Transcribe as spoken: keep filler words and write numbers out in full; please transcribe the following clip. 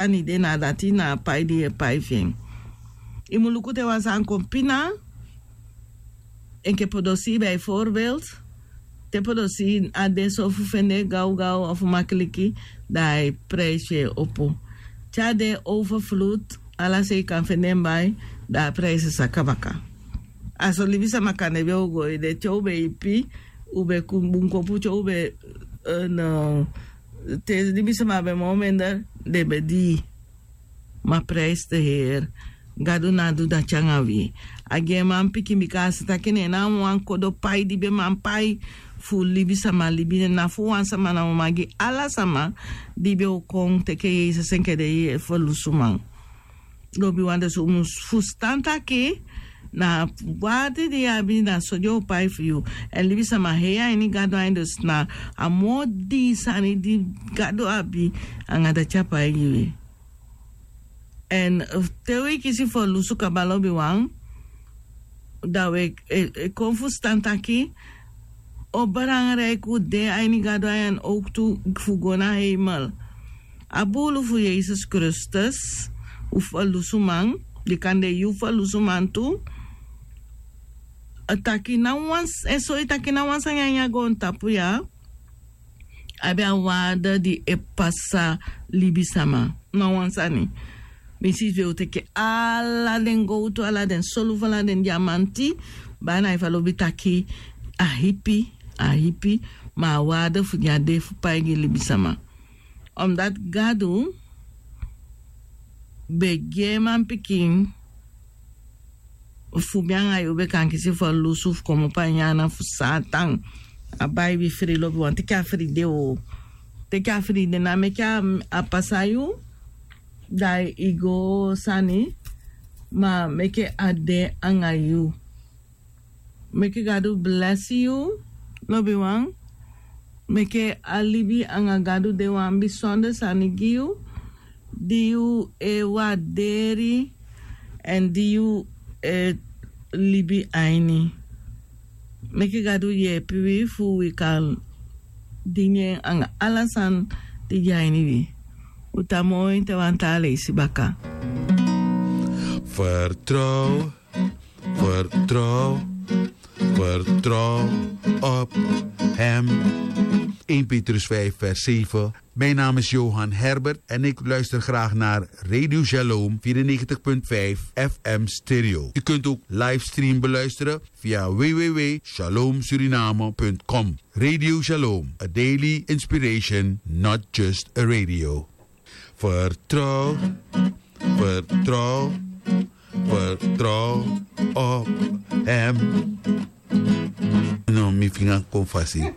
sani de na dati na a pai di yu e pai fu en. Yu mu luku te wan sani kon pina, enke podosi bijvoorbeeld, te podosi a de so fu fende gawgaw ofu makiliki, dan a e prijsi e opo. Te a de overvloed, ala sei kan fende en bai, dan a prijsi e saka baka. A so libisama kande ben o go ede, te u ben ipi, u ben bun kopu, te u ben, te libisama ben moo mender, den ben dii. Ma prijs de heer. Gadu no a du dati anga wi. A gi en manpikin bika a si taki ne en na a wan kodo pai di ben man pai fu libisama libi, na fu wan sama, na mama gi ala sama di ben o kon teke yesus enke den ferlusuman. Lobiwan, dus un mus fustan taki na a warde di yu abi, na so den o pai fu yu. Èn libisama hei a ini gadu ain, dus na a moo dii sani di gadu abi, anga dati a pai gi wi. Èn te wi kisi ferlusu kaba, lobiwan, dan wi e kon fustan taki o belangrijk un de a ini gadu ain, owktu fu go na heimel. A buulu fu yesus kristus, un ferlusuman, di kande yu ferlusuman tu, a taki na wan, e soi taki na wan sani a ini a goontapu ya abi a waarde di e pasa libisama. Na wan sani. Mi si fu e o teke ala den gowtu, ala den solufu, ala den diamanti, bana efu a lobi taki a hipi, a hipi, ma a waarde fu gi a de fu pai gi libisama. Omdat gadu ben gi en manpikin fu mi anga yu ben kan kisi ferlusu fu komopo a ini ana fu satan. A bai wi fri, lobiwan, teke a fri de o. Teke a fri de, na meke a pasa yu, dan i go sani, ma meke a de anga yu. Meke gadu blesi yu, lobiwan. Meke a libi anga gadu de wan bisonder sani gi yu, di yu e warderi èn di yu e libi a ini. Meke gadu yepi wi fu wi kan dingi en anga ala sani di de a ini wi. Un tan moi te wan taa leisi baka. Vertrouw, vertrouw, vertrouw op hem. Een Petrus vijf vers zeven. Mijn naam is Johan Herbert en ik luister graag naar Radio Shalom vierennegentig punt vijf F M Stereo. U kunt ook livestream beluisteren via w w w shalom suriname punt com. Radio Shalom, a daily inspiration, not just a radio. Vertrouw, vertrouw, vertrouw op hem. No, mi finga kon fasi.